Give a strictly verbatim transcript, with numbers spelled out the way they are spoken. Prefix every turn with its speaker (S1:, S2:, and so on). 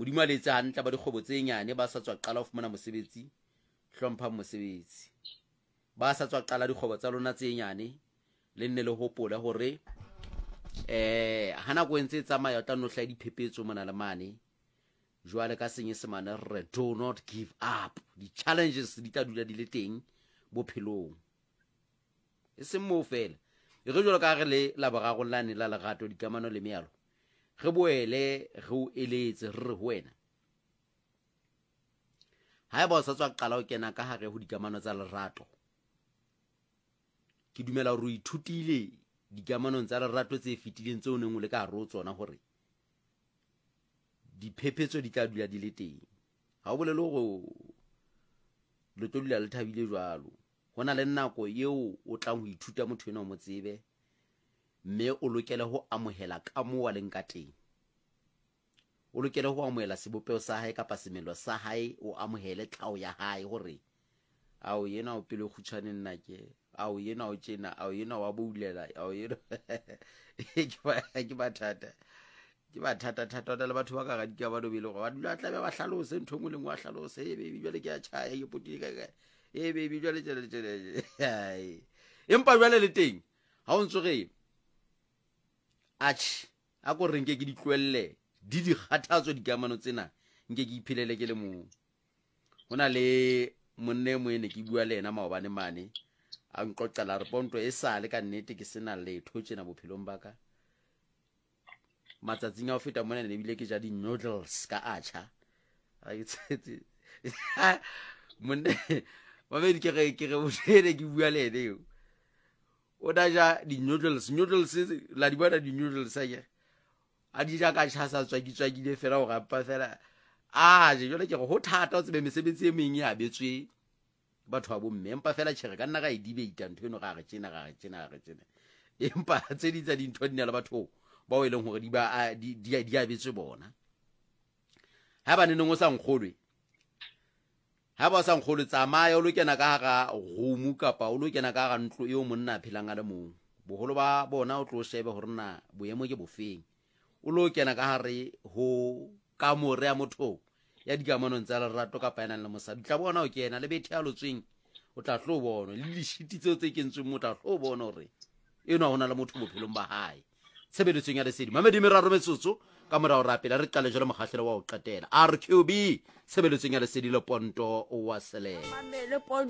S1: Modimo a le etse hantle ba dikgwebo tse nyane ba sa tswa qala ho fumana mosebetsi, hlomphang mosebetsi. Ba sa tswa qala dikgwebo tsa lona tse nyane, le nne le hopole hore eh ha nako e ntse e tsamaya o tla nno hlaha diphephetso mona le mane. Jwale ka Senyesemane re re do not give up. Di-challenges di tla dula di le teng bophelong. E seng moo fela. E re jwalo ka ha re le Laboraro lane la lerato, dikamano le mealo, re boele re o eletse re re ho wena, haeba o sa tswa qala ho kena ka hare ho dikamano tsa lerato, ke dumela hore o ithutile dikamanong tsa lerato tse fetileng tseo o neng o le ka hare ho tsona hore diphephetso di tla dula di le teng. Ha o bolele hore le tlo dula le thabile jwalo. Ho na le nako eo o tlang ho ithuta motho enwa o mo tsebe, mme o lokele ho amohela ka moo a leng ka teng. O lokele ho amohela sebopeho sa hae kapa semelo sa hae, o amohele tlhaho ya hae hore ao yena o pelo e kgutshwane nna ke, ao yena o tjena, ao yena wa boulela, ao yena ke mathata. Ke mathata thata hona le batho ba ka hara dikamano be le hore ba dula tlabe ba hlalose ntho e nngwe le nngwe, ba hlalose, hey baby jwale ke a tjhaya, ke potile kae kae, hey baby jwale tjena tjena. Empa jwale le teng ha o ntso re atjhe, a ko re nke ke di tlohelle di di kgathatso dikamano tsena, nke ke iphelele ke le mong. Ho na le monna e mong e ne ke bua le yena maobane mane, a nqoqela a re Ponto e sale ka nnete ke sena letho tjena bophelong ba ka. Matsatsing a ho feta mona ne ebile ke ja di-noodles ka atjha. Monna mamedi ke re ke re o ne ke bua le ene eo. O na ja di-noodles, noodles la di bona di-noodles akere. A di ja ka tjha sa tswaki-tswakile fela hore ampa fela a je. Jwale ke re ho thata o tsebe mesebetsi e meng e abetswe batho ba bomme, empa fela tjhe re ka nna ra e debate ntho eno, ra re tjena ra re tjena ra re tjena, empa tse ding tsa dintho di na le batho bao e leng hore di ba di di abetswe bona. Haeba neneng o sa nkgolwe, haeba o sa nkgolwe, tsamaya o lo kena ka hara room kapa o lo kena ka hara ntlo eo monna a phelang a le mong. Boholo ba bona o tlo shebe hore na boemo ke bofeng. O lo kena ka hare ho kamore ya motho ya dikamanong tsa lerato kapa ya nang le mosadi, o tla bona o kena le bethe ya lotsweng, o tla tlo bona le dishiti tseo tse kentsweng mo, o tla tlo bona hore enwa ho na le motho bophelong ba hae. Tshebeletsong ya lesedi mamedi meraro metsotso ka morao rapela re qale jwale mokgahlelo wa ho qetela R Q B tshebeletsong ya lesedi le Ponto wa Selele.
S2: Mamele Ponto.